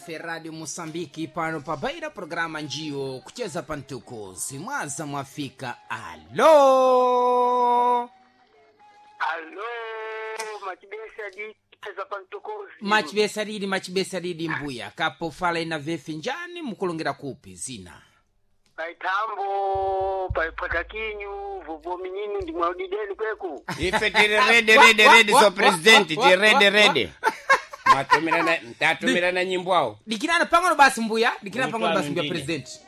Vefe Radio Mosambiki pano pabaira programa njiyo kucheza pantukuzi mwaza mwafika. Alo. Alo, machibesa dicheza pantukuzi. Machibesa lidi, machibesa lidi mbuya kapo fala ina vefe njani mukulongera kupi zina Paitambo, paipwatakinyu, vovo minyinu ndi mwaudideni kweku. Ife tiri rede rede rede so president tiri rede rede. Mwatumirana mtatumirana nyimbo awo. Dikirana pang'ono basi mbuya, dikirana pang'ono Mutwalo basi mbuya ndine. president.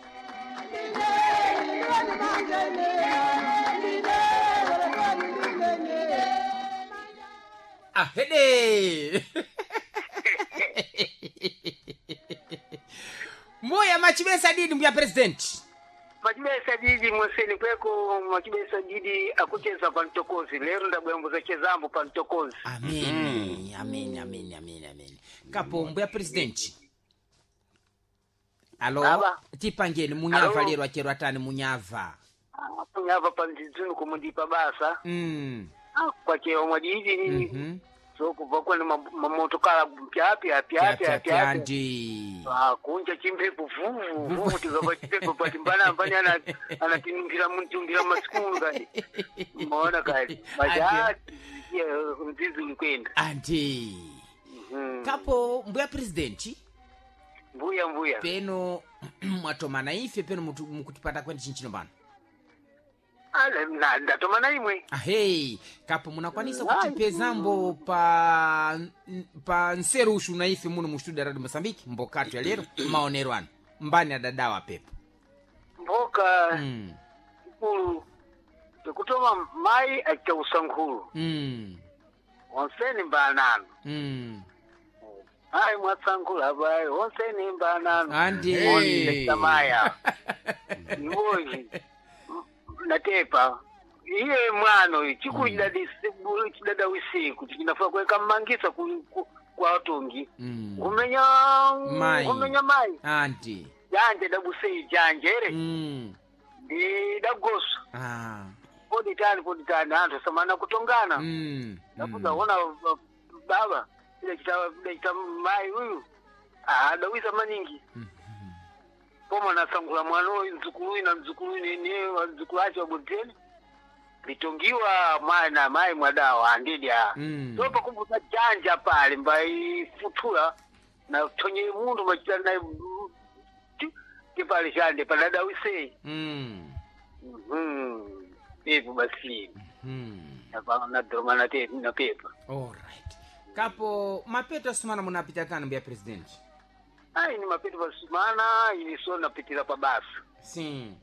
Ahede. Mbuya machibesa didi mbuya president. Machibesa didi mweseni kweku, machibesa didi akucheza pantokozi. Lero ndabwembuza chezambo pantokozi. Ameni, ameni, ameni, ameni, ameni. Kapo mbuya president. Alo, Baba. tipangeni munyava Alo. lero achero atani munyava. Punyava pandzidzunu kumundipa basa. Kwachewa mwadidi nini. So kubva kwene mamotokala pyapya pyapya pyapya. Andi. Ah, kunja chimpepo vuvu vuvu tikapa chimpepo pati mbana mbani ana anatinungira muntungira masikulu kani maona kani maja mzizi ulikwenda. Andi. Kapo mbuya president Mbuya mbuya. peno mwatomana ife peno mukutipata kwene chinchino pano. Ala, ndatomana imwe. Ahei, kapo munakwanisa kutipezambo pa nserushu na ife muno mu studio ya Radio Mozambique mbokatu ya lero maonero ano mbani adadawa pepo. Mboka ikulu tekutoma mai achita usankhulu. Onseni mbanano. Mai mwatsankhula apayi onseni mbanano. Andi. Hey. Samaya iwoyi natepa iye mwana uyu chikulu chidadawisiku chinafa kuweka mmangisa kwa atongi. Kumenya. Mai. Kumenya mai. Andi. Janje dabusei janjere. Ndi dagoso. Poditani poditani anthu samana kutongana. Dakuza ona baba idachita mai uyu adawisa maningi. Koma nasangula mwana uyu mdzukulu uyu na mdzukulu uyu nene mdzukulu acho wabudeni litongiwa mwana mai mwadawa andidi a. So pakumbuka janja pale mbaifuthula na thonye mundu machita naye tipale chande padadawisei. Ipo basi. Nadoma napepa. Alright. Kapo mapeto asumana munapita tani mbuya president. Ayi ni mapeto pasumana ini so napitira pa basa. Sim.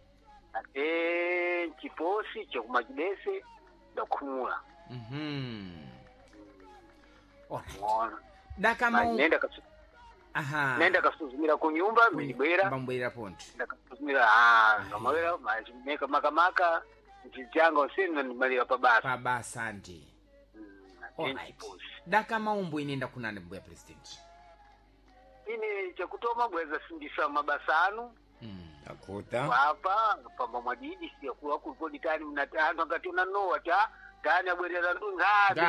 Ate chiposi chokumachibese ndakhumula. Alright. Mona. Dakama. Nenda Aha. nenda kasuzumira ku nyumba milibwera. Mbambwera ponto. Ndakasuzumira ah ngamawera meka makamaka nchijanga usini ndimalira pa basa. Pa basa ndi. Ate Alright. chiposi. Dakama umbo inenda kunani mbuya president. Ini chakutoma bweza sindisa mabasa anu. Akuta. Apa pamba mwadidi siyakuwa kulipoditani mna anthu angati unanowa ta tani abwerera ndunga.